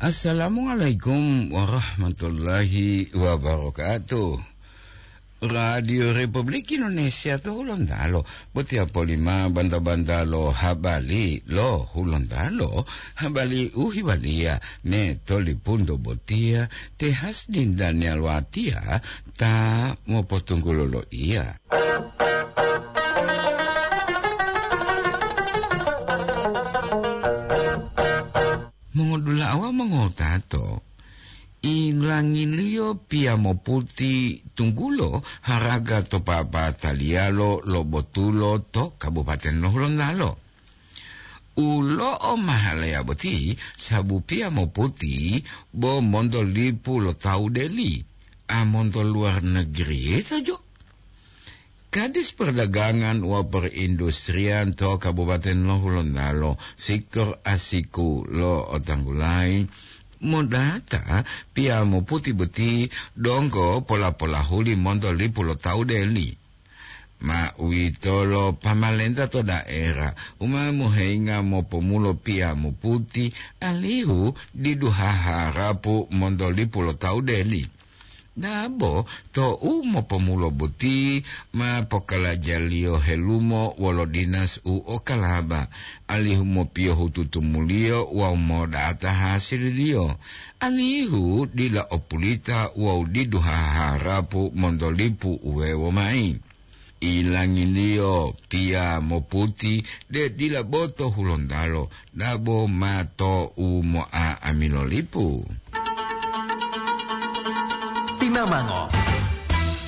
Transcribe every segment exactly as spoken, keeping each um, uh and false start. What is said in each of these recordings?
Assalamualaikum warahmatullahi wabarakatuh. Radio Republik Indonesia to Hulontalo, botiya polima banta-banta lo habari lo Hulontalo, habari u hewaliya me tolipunto botiya te Hasdin Daniel Watiya ta mopotunggulo lo iya. Mongodula'a wawu mongotato, ilangiliyo piyamoputi tunggulo haraga to papataliyalo lo botulo to Kabupaten lo Hulontalo. U lo'o mahaleya boti sabu piyamoputi bo monto lipu lo tawu deli, a monto luwar negeri tojo. Kadis Perdagangan wa Perindustrian to Kabupaten lo Hulontalo, Victor Asiku lo otanggulayi, modata piyamoputi boti donggo pola-polahuli monto lipu lo tawu deli. Ma uwitolo pamalenta to daera u ma moheyinga mopomulo piyamoputi, alihu didu haharapu monto lipu lo tawu deli. Dabo tou mopomulo boti ma pokalajaliyo helumo wolo dinas u okalaba, alihu mopiyohu tutumuliyo wawu modata hasililiyo, alihu dila opulita wawu didu haharapu monto lipu uwewo mayi. Ilangiliyo piyamoputi de dila bo to Hulontalo, dabo ma to u mo'a'amilo lipu. Timamango.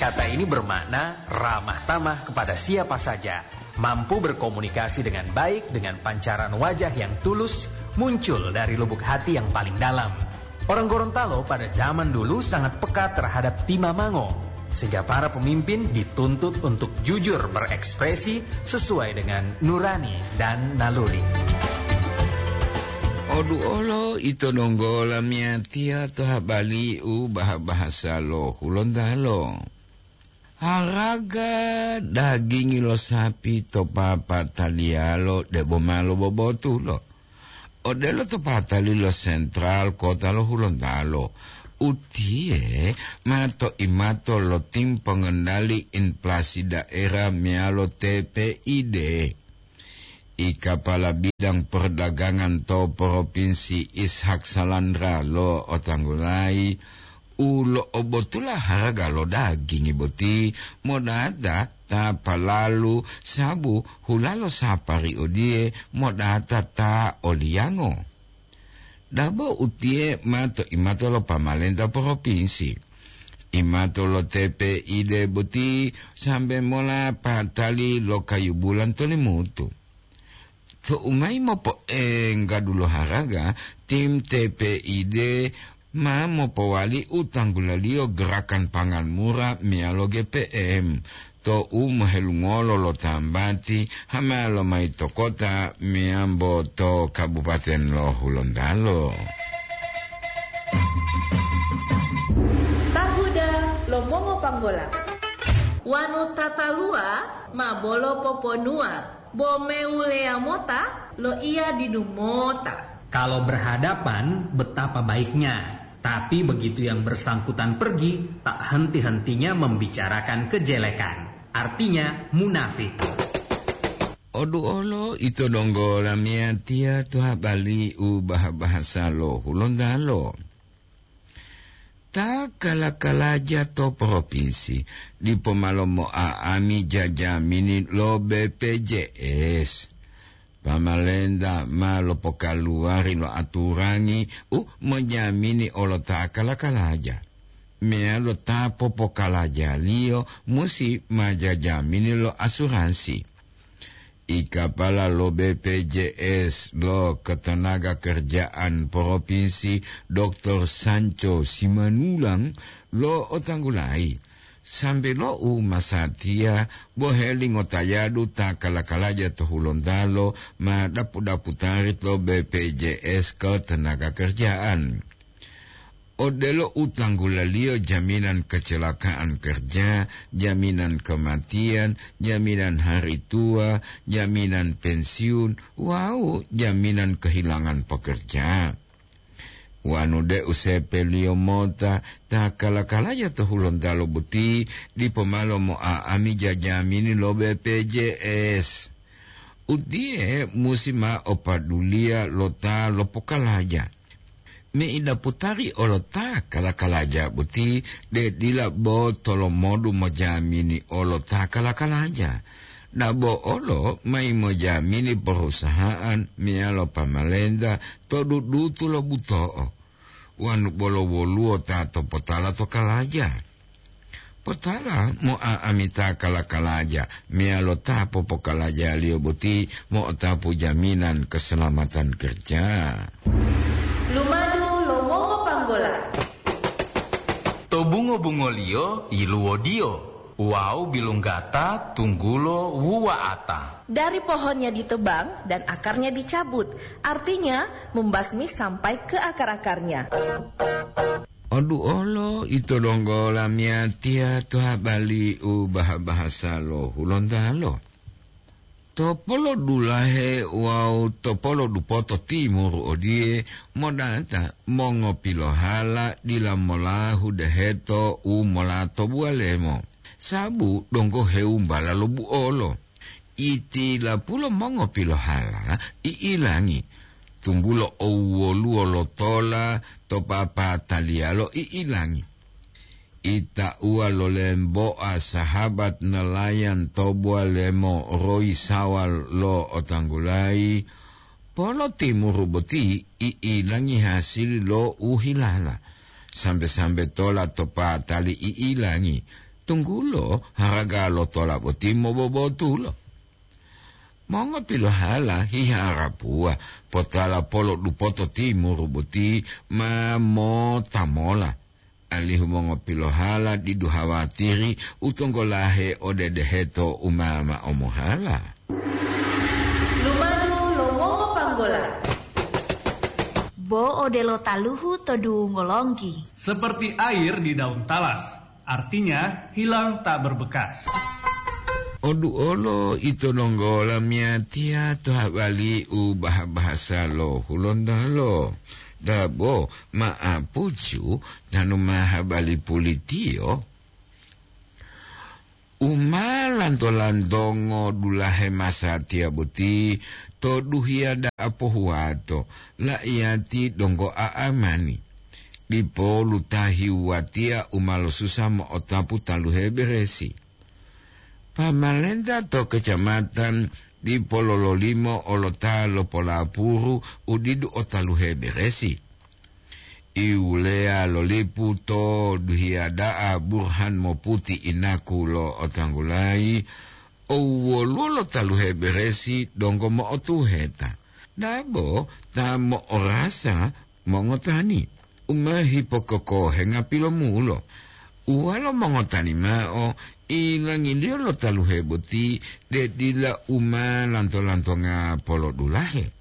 Kata ini bermakna ramah tamah kepada siapa saja, mampu berkomunikasi dengan baik dengan pancaran wajah yang tulus muncul dari lubuk hati yang paling dalam. Orang Gorontalo pada zaman dulu sangat peka terhadap timamango, sehingga para pemimpin dituntut untuk jujur berekspresi sesuai dengan nurani dan naluri. Oduolo ito donggo lamiyatiya to habari u baha-bahasa lo Hulontalo. Haraga dagingi lo sapi to papataliyalo debo ma lobobotulo. Odelo to patali lo sentral kota lo Hulontalo, utiye ma to imato lo tim pengendali inflasi daerah meyalo T P I D. I kapala bidang perdagangan to Provinsi Ishak Salandra lo otanggulayi u lo'obotula haraga lo dagingi boti modata ta palalu sabu hulalo sapari odiye modata ta oliyango. Dabo utiye ma to imato lo pamalenta provinsi. Imato lo T P I D boti sambe mola patali lo kayu bulan to Limutu. Tou mayi mopoengga dulo haraga, tim T P I D ma mopowali u tanggulaliyo gerakan pangan mura meyalo G P M. Tou mohelungolo lo tambati, hamalo mayi to kota meyambo to Kabupaten lo Hulontalo. Tahuda lo mongopanggola. Wanu tataluwa ma bolo poponuwa, bo mewuleya mota loiya didu mota. Kalau berhadapan, betapa baiknya. Tapi begitu yang bersangkutan pergi, tak henti-hentinya membicarakan kejelekan. Artinya, munafik. Oduolo ito donggo lamiyatiya to habari u baha-bahasa lo Hulontalo. Ta kala-kalaja to provinsi dipo ma lomo'a'ami jajamini lo B P J S. Pamalenta ma lopokaluwari lo aturangi u mojamini olo ta kala-kalaja, meyalo ta popokalajaliyo musi ma jajamini lo asuransi. I kapala lo B P J S lo Ketenaga Kerjaan Provinsi, Doktor Sanco Simanulang, lo otanggulayi, sambe lo u masatiya boheli ngotayadu ta kala-kalaja to Hulontalo ma dapu-daputari to B P J S Ketenaga Kerjaan. Odelo u tanggulaliyo jaminan kecelakaan kerja, jaminan kematian, jaminan hari tua, jaminan pensiun, wawu jaminan kehilangan pekerja. Wanu de'u sepeliyo mota ta kala-kalaja to Hulontalo boti dipo malo mo'a'amija jamini lo B P J S. Utiye musi ma o paduliya lo ta lopokalaja. Me'ida putari olo ta kala-kalaja boti de dila bo tolomodu mojamini olo ta kala-kalaja. Dabo olo mayi mojamini perusahaan meyalo pamalenta to dudutu lo buto'o. Wanu bolo woluwo ta to potala to kalaja. Potala mo'a'amita kala-kalaja, meyalo ta popokalajaliyo boti mo'otapu jaminan keselamatan kerja. Lumadu lo mongopanggola. To bungo-bungoliyo yiluwodiyo wawu bilunggata tunggulo wuwa'ata. Dari pohonnya ditebang dan akarnya dicabut, artinya membasmi sampai ke akar-akarnya. Oduolo ito donggo lamiyatiya to habali u baha-bahasa lo Hulontalo. To polodulahe wawu to polodupoto timuru odiye, modata mongopilohala dila molahu deheto u molato buwalemo, sabu donggo hewumbala lo buolo. Itilapulo mongopilohala i'ilangi, tunggulo owwoluwo lo tola to papataliyalo i'ilangi. Itauwa lo lemboa sahabat nelayan to buwalemo royi sawal lo otanggulayi, polo timuru boti i'ilangi hasili lo u hilala. Sambe-sambe tola to patali i'ilangi, tunggulo haraga lo tola boti mobobotulo. Mongopilohala hiharapuwa potala polo dupoto timuru boti ma motamola, alihu mongopilohala didu hawatiri u tonggolahe ode deheto u ma ma'o mohala. Lumadu lo mongopanggola. Bo odelo taluhu to dungo longgi. Seperti air di daun talas, artinya hilang tak berbekas. Oduolo ito donggo lamiyatiya to habali u baha-bahasa lo Hulontalo. Dabo ma'apucu tanu ma habali pulitiyo. U ma lanto-lantongo dulahe masatiya boti to duhiya da'a pohuwato, la'iyati donggo a'amani. Dipo lutahi wuwatiya u ma losusa mo'otapu taluhe beresi. Pamalenta to kecamatan dipo lololimo olo ta lopolapuru u didu o taluhe beresi. Iwuleya lo lipu to duhiya da'a burhan moputi inaku lo otanggulayi, owwoluwo lo taluhe beresi donggo mo'otuheta. Dabo ta mo'orasa mongotani, u ma hipokokohenga pilomulo. Uwalo mongotani mao, ilangiliyo lo taluhe boti de dila u ma lanto-lantonga polodulahe.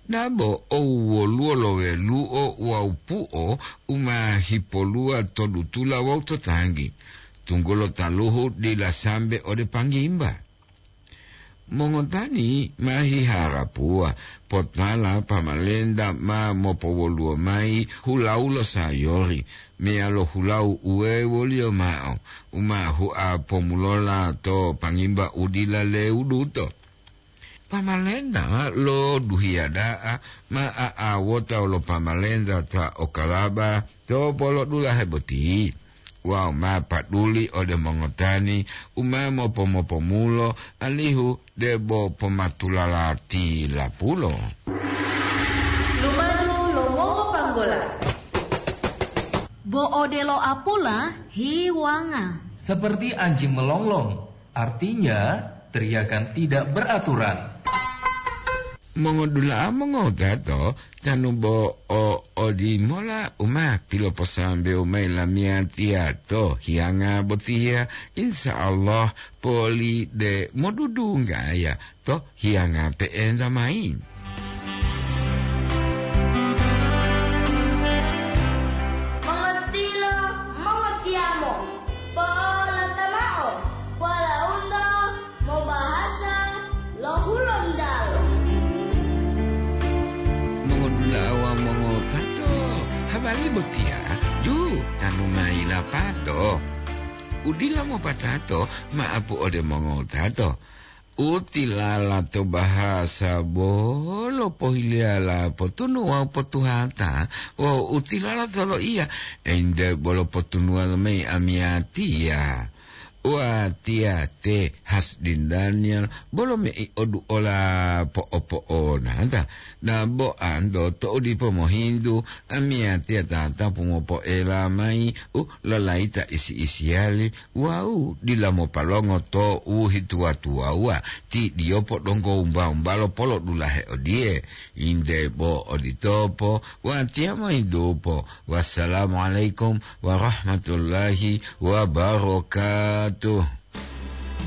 Dabo owwoluwo lo welu'o wawu pu'o u ma hipoluwa to dutula wawu to tanggi, tunggulo taluhu dila sambe ode panggimba. Mongotani ma hiharapuwa potala pamalenta ma mopowoluwo mayi hulau lo sayori meyalo hulau uwewoliyo mao u ma hua pomulola to panggimba u dila lewuduto. Pamalenta lo duhiya da'a ma a'awota wolo pamalenta ta okalaba to polodulahe boti wawu ma paduli ode mongotani u ma mopo-mopomulo, alihu debo pomatulala tilapulo. Lumadu lo mongopanggola. Bo odelo apula hiwanga. Seperti anjing melonglong, artinya teriakan tidak beraturan. Mongodula'a mongotato, tanu bo o odimola u ma piloposambewu mayi lamiyatiya to hiyanga botiya, insya Allah poli de modudunggaya to hiyanga pe'enta mayi. Mongotilo, mongotiyamo, po'olata mao, polaundo mobahasa lo Hulontalo. Mongodula'a wawu mongotato, Botiya, ju, tanu mayi lapato. Udila mopatato, maapu ode mongowutato. Utilala to bahasa bolo pohiliyala potunu wawu potuhata, wawu utilala to loiya, ente bolo potunuwa lomayi amiyatiya. Watiya te Hasdin Daniel bolo mei oduola po'opo'onata. Naboanto to'u dipo mohintu, amiyatiya tatapu mopoela mayi u lalayita isi-isiyali wawu dila mopalongo to u hituwa-tuwawuwa, ti diyo podonggo wumba-wumbalo polodulahe odiye, inde bo oditopo, watiya mohintupo. Wassalamualaikum warahmatullahi wabarakatuh.